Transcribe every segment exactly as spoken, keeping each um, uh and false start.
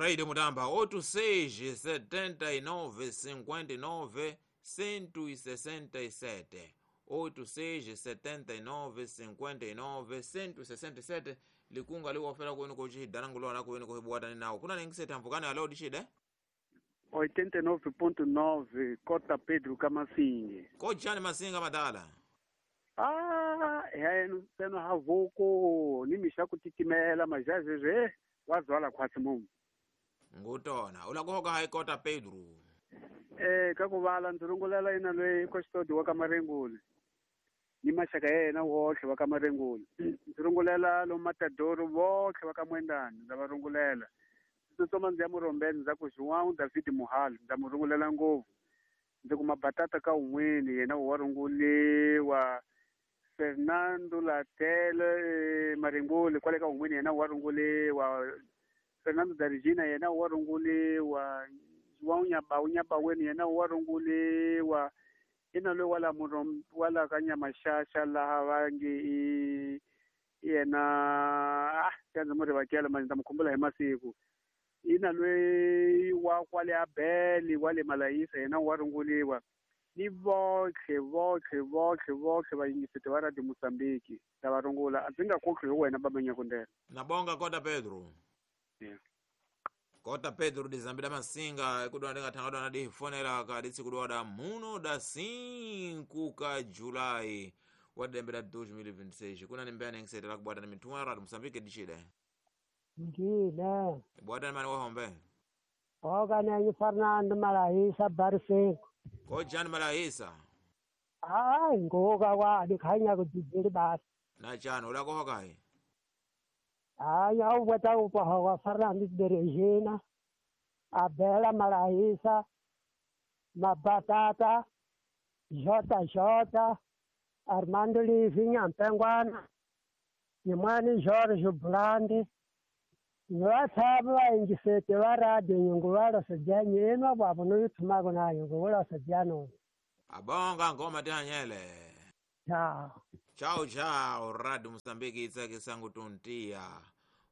Radio Mutamba oito seis setenta e nove cinquenta e nove cento e sessenta e sete oito seis setenta e nove cinquenta e nove cento e sessenta e sete likunga liwofera kwenu kochihidhanangulwana kwenu kohibuwatani nawo kuna ningisete hamvukani alo dishide oitenta e nove ponto nove Cota Pedro Kamasinge kochani masinga madala ah heno seno havoko ni mixa ku titimela majazeze wazwala khwatsi mumu ngutona ulakuhoka hayi Cota Pedro eh ka ku vala ndzi rungulela ina loyi Costodi wa ka Marenguli ni maxaka ya yena wotlhe wa ka Marenguli ndzi rungulela lo Matadoro votlhe wa ka Mwendani ndza va rungulela ndzi tsutsuma ndzi ya Murombeni ndza ku João David Muhali ndza mu rungulela ngopfu ndzi kuma batata ka un'wini yena wa runguliwa Fernando Latele Marenguli kwale ka un'wini yena wa runguliwa Fernando da Regina yena wa runguliwa João Nyabau Nyabaweni yena wa runguliwa ina loyi wala murom wala ka Nyamaxaxa laha va nge i yena ah xandza mo rivakela manje ndza mu khumbula hi masiku ina loyi wa kwale Abeli wa le Malayisa yena wa runguliwa ni votlhe votlhe votlhe votlhe vayingiseti va Radio Mozambique ta va rungula a ndzi nga kotlhi hi wena Baba Nyakundela nabonga Cota Pedro yeah. Cota Pedro dizambida masinga ikudwa ndingathanga dwana difonela ka ditsikudwa muno da cinco ka July wa dembela dois mil e vinte e seis kuna nimbea nengisetela kubwata ni mithumwa ya Radio Mozambique dishide Ngile bwata mani wahombe oka nenyi Fernando Malahisa Barse kojani Malahisa hayi ngoka kwa dikhanya kujijiri basi na chano ulakohoka hayi hayi awubwata upahoka Fernando de Regina Abela Malahisa Mabatata Jota Jota Armando Livi Nyampengwana Nimwani Jorge Blandi Nwathaba ingisete wa radio nyungu sejya nyinwa babo noyithumako nayo ngowala sejya no abonga ngoma tihanyele chao chao chao Radio Mozambique itsake sangu tontia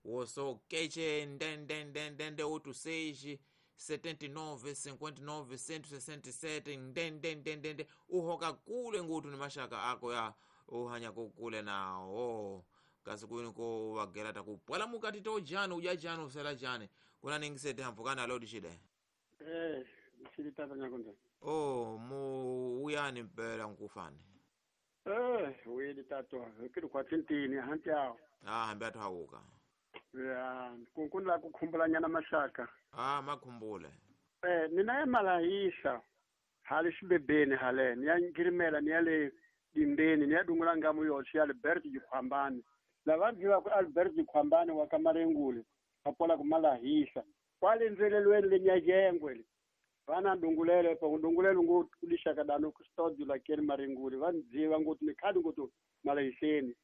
woso keche ndendendendende oito seis setenta e nove cinquenta e nove cento e sessenta e sete ndendendendende uhoka kule ngutu ni mashaka ako ya uhanya kukule nawo kasi kwini ko wagera takupwela mukati to jani uja jani usela jani kuna ningisete hampukana alo dishide eh shili tata Nyakundela oh mu uyani mpela nkufani eh wili tato kiri kwa tintini hanti awo ah hambi athu hawuka ya kunkundla kukhumbula nyana mashaka ah makhumbule eh nina ya Malahisa hali xibebeni hale ni ya ngirimela ni ya le dimbeni ni ya dungula ngamu yoxe ya Albert Jikhwambani lava byiwa ku Albert Jikhwambani wa ka Marenguli va pola ku Malahisa kwale ndzelelweni le Nyajengwe vana dungulele pa dungulele ngo kulishaka dano ku studio la keni Marenguli va ndziva ngoti ni khadi ngoti Malahiseni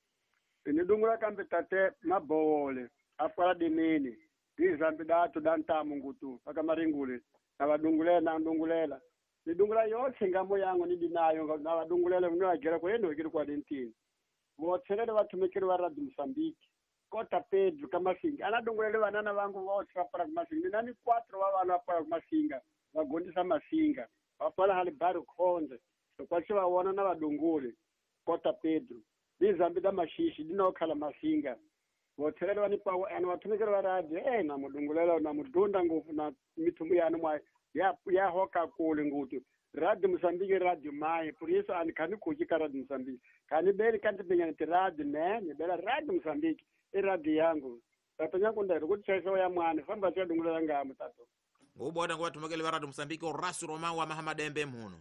ni dungula kambe tate mabowole afala dimini dizambi datu dantamu ngutu aka Marenguli na vadungulela na dungulela ni dungula yoxe ngamo yangu ni dinayo na vadungulela ni agera ko endo ikiri kwa dentini votselele vathumekeli va Radio Mozambique Cota Pedro Kamasinga ana dungulele vanana vangu voxe va pfala kumasinga mina ni quatro va vana va pfala kumasinga va gondisa masinga va pfala hali bari khonze loko va vona na vadunguli Cota Pedro dizambi da maxixi dinokhala masinga votselele va ni pawo ene vathumekeli va radio eh na mudungulela na mudunda ngopfu na mithumu yani mwa ya ya hoka kule ngutu Radio Mozambique radio mai por isso ani khani kuki ka Radio Mozambique khani beli kanti bengani ti radio ne ni bela Radio Mozambique i radio yangu tata Nyakundela kuti chaiso ya mwana famba cha dungulela ngamu tato ngubona ngwathumekeli va Radio Mozambique Horacio Romão wa Mahamadembe mhuno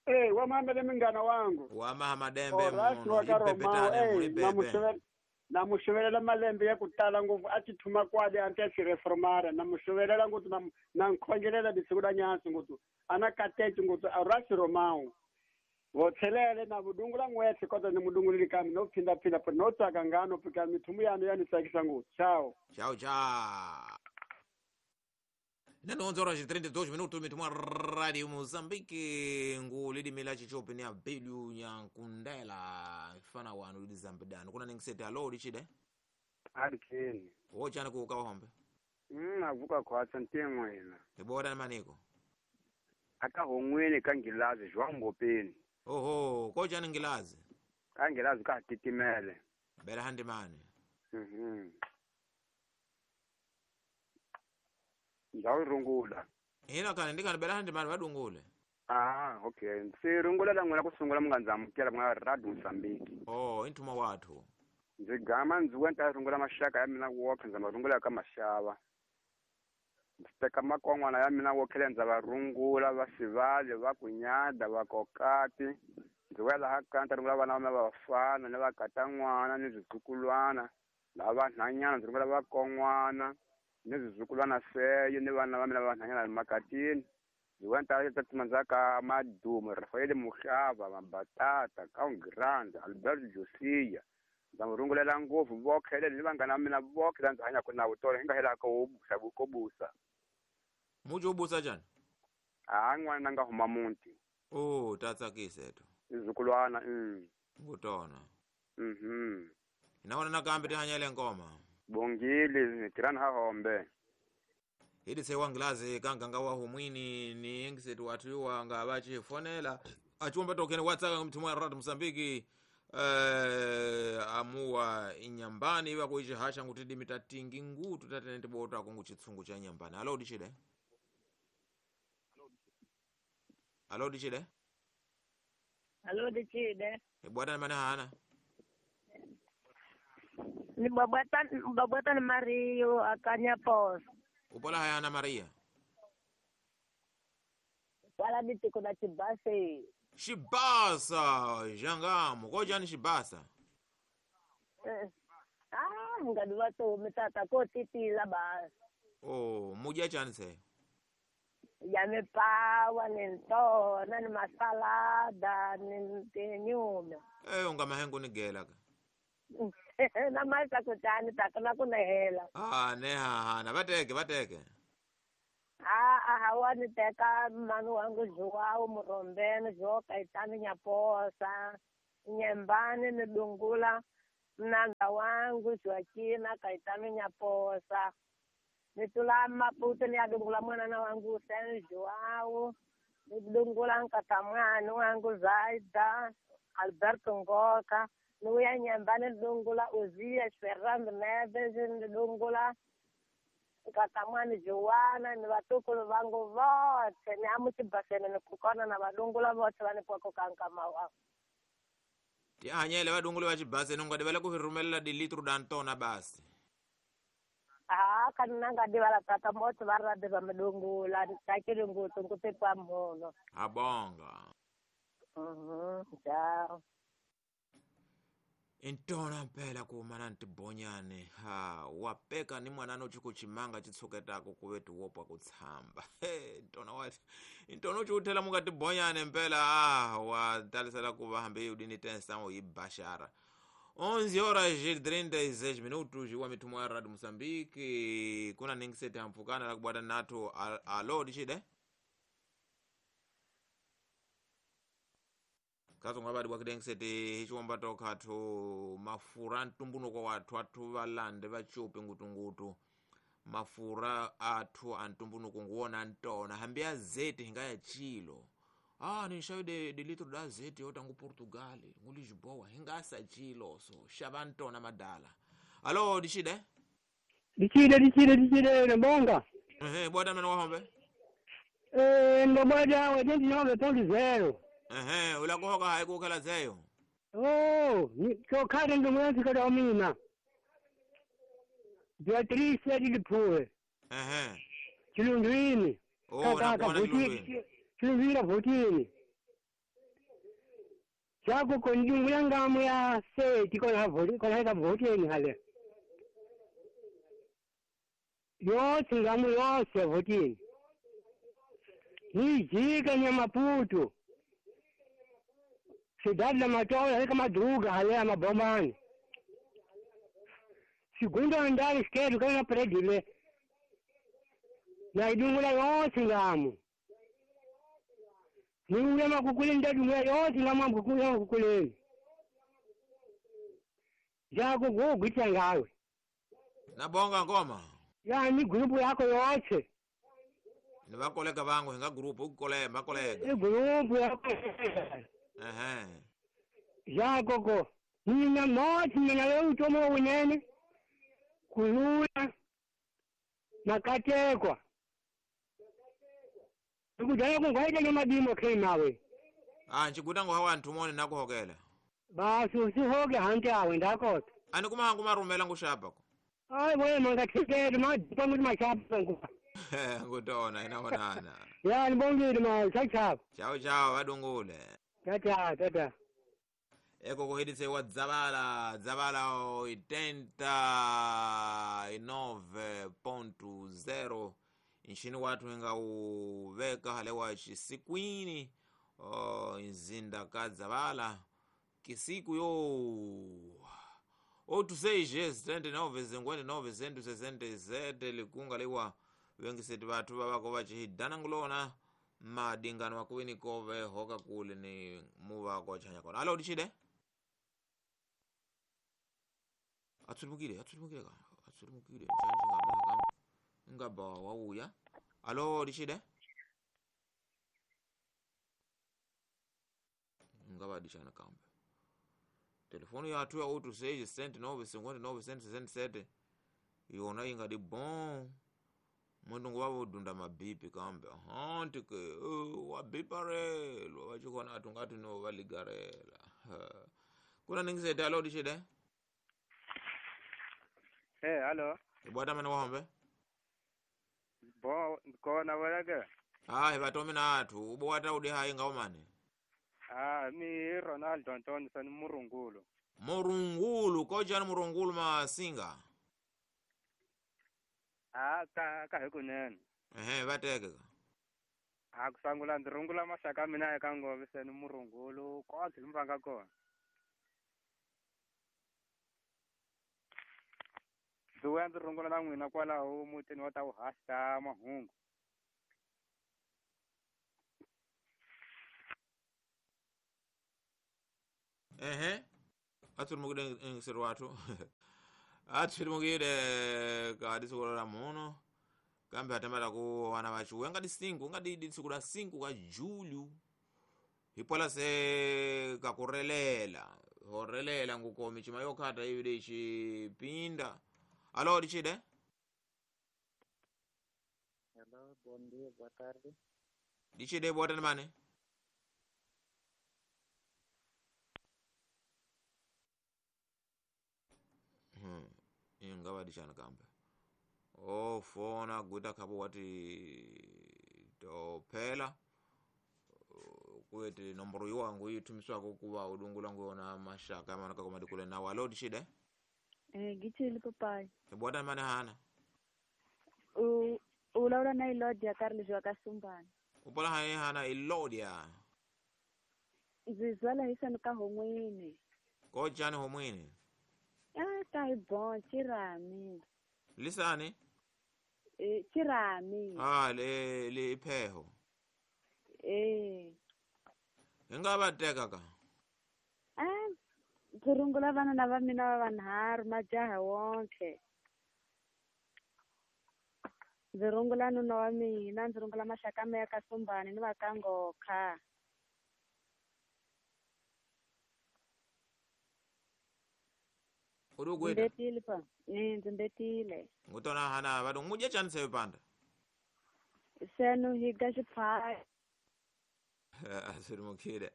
eh wa Mahamadembe ngana wangu wa Mahamadembe mhuno ibebetane na muxovelela malembe ya ku tala ngopfu a ti thuma kwale a ti a xi reformara na muxovelela ngopfu na na nkhongelela disiku la nyansi ngopfu ana kateci ngopfu Horacio Romão votselele na vudungula n'wetse kota ni mudunguleli kambe no phindaphinda po no tsaka ngano pika mithumu yanu ya ni tsakisa ngopfu chao chao chao Neno onze horas e trinta e dois minutos mitumwa Radio Mozambique ngulidimila chichope ni abelu Nyankundela fana wanu lidizambidano kuna ningisete alo lichide Alikeni wochana kuuka wahombe Mm avuka khwatsa ntin'wina. Hi bota maniko. Aka hon'wini ka Nghilazi João Ngopeni. Oho, kojani Nghilazi? Ka Nghilazi ka titimele. Bela handimani. Mhm. Ndzawu rungula. Hina kana ndikana bela handimani vadungule. Ah, okay. Se rungula la n'wina ku sungula mi nga ndzi amukela ku nga Radio Mozambique. Oh, intuma wathu. Ndzi gama ndzi wenta rungula maxaka ya mina wokhe ndza ma rungula ka maxava. Ndzi teka makon'wana ya mina wokhele ndza va rungula va sivale va kunyada va kokati. Ndzi vuya laha kaya ndzi rungula vana va mina va vafana ni va katan'wana ni swizukulwana lava vanhwanyana ndzi rungula vakon'wana ni swizukulwana seyo ni vana va mina va vanhwanyana makatini. Ndzi vuya ni ta tshama ndzhaku ka Madumo Rafael Muhlava Mabatata Kaungrand Alberto Josia. Ndza n'wi rungulela ngopfu vokhele ni vanghana va mina vokhele la ndzi hanyaka na vutolo hi nga helaka wo busa ko busa. Muji wo busa njhani? A n'wana nga huma muti. Oh, ta tsakisa eto. Izukulwana mm. Ngutona. Mhm. Hina wona nakambe ti hanyele ngoma. Bongile tirani ha hombe. Hili se wangilazi kanganga wa humwini ni engisetu watu wanga vachifonela achiomba tokeni watsaka mthumu wa Radio Mozambique eh amuwa inyambani iwa kuichihasha nguti dimita tingi ngutu tatene tibota kungu chitsungu cha nyambani. Alo dichile. Alo dichile. Alo dichile. Ibwata mana hana. Ni babata babata Mario akanya pos. Upola hayana Maria. Wala ditiko na chibase. Shibasa jangamu kojani shibasa. Eh. Ah, ngadiwa to mitata ko titila ba. Oh, muja chani se. Ya me pawa ni ntona ni masalada ni tinyume. Eh, unga mahengu ni gela ka. Na maisa kutani takana kunehela. Ah, neha hana vateke vateke. Ah, ah, wani teka manu wangu Joao Murombeni Joao Kaitani Nyaposa Nyembani nidungula mnanga wangu Joaquina Kaitani Nyaposa nitula Maputo niyadungula mwana wangu Sen Joao nidungula nkatamwani wangu Zaida Alberto Ngoka nuya Nyembani nidungula Uzia Fernando Neves nidungula katamwani Joana ni vatukulu vangu vote ni amuchibasene nikukona na vadungula vote vanipwako kankama Tihanyele vadungula va chibasene ungadivale ku rhumelela dilitru dantona basi. Ah, kana ngadivala tata moto va rade va midungula takile ngutu ngutipwa mhono. Abonga. Mhm, ciao. Intona mpela kumana ntibonyane ha wapeka ni mwanano chikuchimanga chitsuketako kuvetu wopwa kutsamba he ntona wati intona uchiuthela mukatibonyane mpela ah watalisela kuva hambi udini tensa yibashara onze horas e trinta e seis minutos wa mithumo ya Radio Mozambique kuna ningisete hampfukana la kubwata nathu alo dichide katsonga vadi bwakidengisete hichiwomba tokhathu mafura ntumbunuko wathu athu valande vachupi ngutungutu mafura athu antumbunuko nguwona ntona hambi azeti hingaya chilo ah ni de, de litro da azeti yota ngu Portugal ngu Lisboa hingasa chilo so xava ntona madala. Alo dishide dichide dichide dichide nbonga ehe bwata mwana wahombe eh ndobwada oitenta e nove ponto zero. Ehe, ulakuhoka hayi kukhela zeyo. Oh, chokhale ndomwenzi kada mina. Beatrice Liphuwe. Ehe. Chilundwini. Oh, nakuona Chilundwini. Chilundwini votini. Chako kondungula ngamu ya seti kona votini, kona ka votini hale. Yotse ngamu yotse votini. Nijika nyamaputu. Cidade da Matola, kama druga, hale mabomani. Segundo andar esquerdo, kana prédio le. Na idungula yonse ngamu. Ni makukule ndadungula yonse ngamu makukule makukule. Jago go gitsa ngawe. Nabonga ngoma. Ya ni grupu yako yote. Ni vakolega vangu hi nga grupu ukolega vakolega. I grupu yako. Ehe. Ya gogo. Nina moti nina leo utomo unene. Kulula. Nakatekwa. Ndikudala kungwaita nyamadimo khe nawe. Ah nchiguta ngo hawa ntumone nakuhokela. Basi usihoke hanti awe ndakota. Ani kuma hangu marumela ngushapa ko. Hayi boye mangathekele madipa kuti mashapa nguva. Ngutona inaonana. Ya nibongile ma chachapa. Chao chao vadungule. Tata tata. Eko kuhidise wa Dzabala, Dzabala oitenta e nove ponto zero nxini wathu inga uveka halewa xisikwini oh, nzinda ka Dzabala kisiku yo oito seis setenta e nove cinquenta e nove cento e sessenta e sete likunga liwa vengiseti vathu vavako vacihidana ngulona madingano akuwini kove hoka kule ni muvako chanya kona alo dicide atsulimukile atsulimukile ka atsulimukile njanji ngama ngaba wauya alo dicide ngaba dishana kambe telefoni yathu ya oito seis sete nove cinquenta e nove cento e sessenta e sete yona ingadi bon mundu wavo udunda mabipi kambe hanti ke uh, wabiparelwa vachikona atu ngati no valigarela kuna ningisete alo dicide Eh, alo. Ibwata mane wahombe? Bo, kona wena Ah, hivatome na athu. Ubwata udi hayi ngaumane. Ah, mi Ronaldo Antonio san Murungulu. Murungulu, kojani Murungulu masinga. Ah, ka ka hikunene. Ehe, vateke ka. Ah, kusangula ndzi rungula maxaka mina eka ngove seni Murungulu, konke mi vanga kona. Ndzi vuya ndzi rungula na n'wina kwalaho mutini wa ta vuhasa mahungu. Ehe. Atsulimukile ngiseri wathu. Atsulimukile ka tsiku la muno. Kambe atamata ku wana vachuwe ngati cinco ngati di tsiku la cinco ka julho. Hipola se kakurelela. Horelela ngukomi chima yokhata ivi chipinda. Alô, dicide? Alô, bom dia, boa tarde. Dicide, boa tarde, mane. Hmm, ingava dishana kambe. Oh, fona guta kapo wati tophela. Kuete nomboro yiwangu yithumiswako kuva udungula nguyona mashaka mana kakoma dikule nawo. Alô, dicide? Eh, ngithile papai. Ibwata mane hana. U vulavula na Ilodia Karlizwa ka Sumbana. Upola hayi hana Ilodia. Ndzi zwala hi sani ka homwini. Kojani homwini? Ah, ta hi bon chirami. Lisani? Eh, chirami. Ah, le le ipheho. Eh. Ingaba teka ka. Ah, ndzi rungula vana na va mina va vanharhu majaha wonke. Ndzi rungula nuna wa mina, ndzi rungula maxaka ma ya ka Sumbani ni va ka Ngokha. Uri ukweta? Mbetile pa. Eh, ndzi mbetile. Ngutona hana vadu mudya chani sevipanda? Senu higa xiphaya. Asirimukile.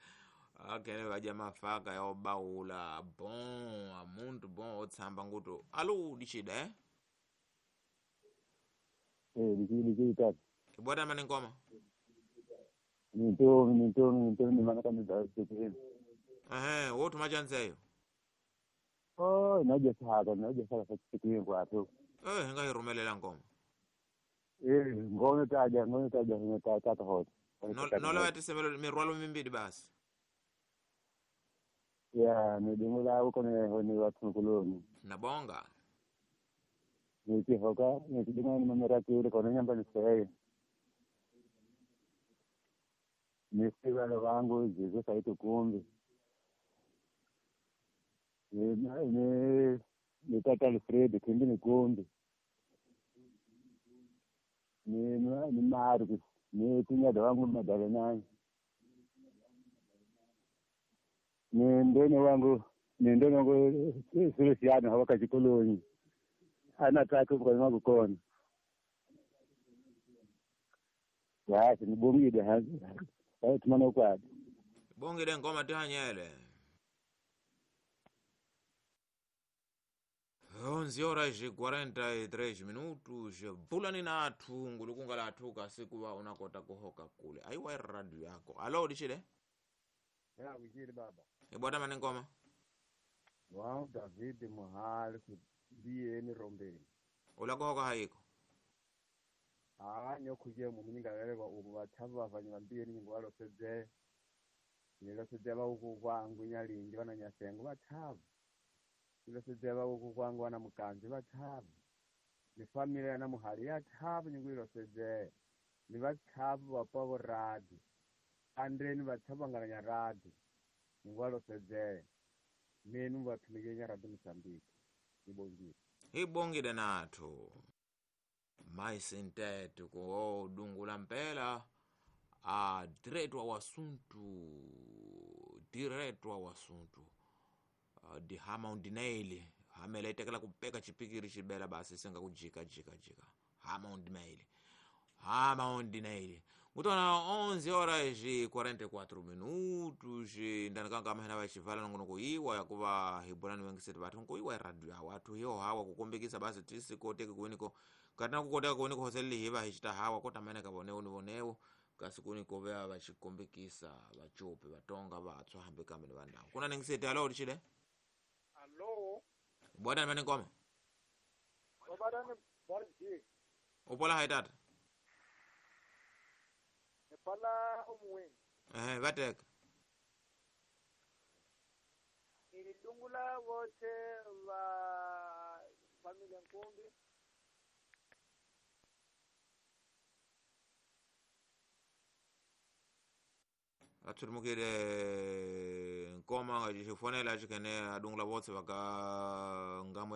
Akene vadya mafaka ya obaula bon, amuntu bon otsamba nguto. Alo dicide eh? Eh, dicide dicide tata. Ibwata mane ngoma. Nintomi nintomi nintomi mana kamida dicide. Ehe, wotu machanzeyo. Oh, naje saka naje saka sachikwini kwathu. Eh, nga hirumelela ngoma. Eh, ngoma taja ngoma taja ngoma tata hot. Nola vatisemelo mirwalo mimbili basi. Ya, nidungula uko ne ni watu mkuloni. Nabonga. Nikihoka, nikidinga ni mamera kile kona nyamba ni sahi. Nisiwa wangu jizo saitu kumbi. Ni ni ni tata Alfred kumbi ni kumbi. ni ni Marcos ni kunyada wangu Madalena ni ndoni wangu ni ndoni wangu Feliciano hawakachikoloni anataka kwa wangu kona basi nibongile ha tumana kwadi bongile ngoma tihanyele onze horas e quarenta e três minutos bulani na athu ngulukunga la athu kasikuwa unakota kuhoka kule aiwa radio yako alo dichile ya wikili baba ibwata mane ngoma wa David Muhali kubiyeni rombeni ula kuhoka haiko ah nyokuje mu munyinga lelwa ubu bathabu bavanye bambiyeni nyingo baloseze niloseze bauku kwangu nyalingi bana nyasengo bathabu iloseze bauku kwangu wana mukanzi bathabu ni familia na muhali yathabu nyingo iloseze ni bathabu bapabo radi andreni bathabu ngalanya radi nyingo baloseze nenu bathumike nyaradi Mozambique ibongile ibongile nathu mais nteto ko dungula mpela a direto ao assunto direto ao assunto uh, di hama undinaili hamela itekela kupeka chipikiri chibela basi singa kujika jika jika hama undinaili hama undinaili ngutona onze horas e quarenta e quatro minutos ndanikanga amahena vachivala nongonoko iwa yakuva hibulani wengiseti vathu nkoiwa iradio yawo athu hiyo hawa kukombekisa basi tisikoteke kuiniko katina kukoteka kuiniko hoseleli hiva hichita hawa kotameneka vonewo ni vonewo kasi kuniko vea vachikombekisa vachupi vatonga vatswa hambi kambe ni vandawu kuna ningiseti alo lichile alo bwadani mane ngoma obadani barji upola haitata epala omuweni ehe vateka nilidungula wote va familia Nkumbi athulimukile nkoma nga xifonela xikene adungula votse vaka ngambo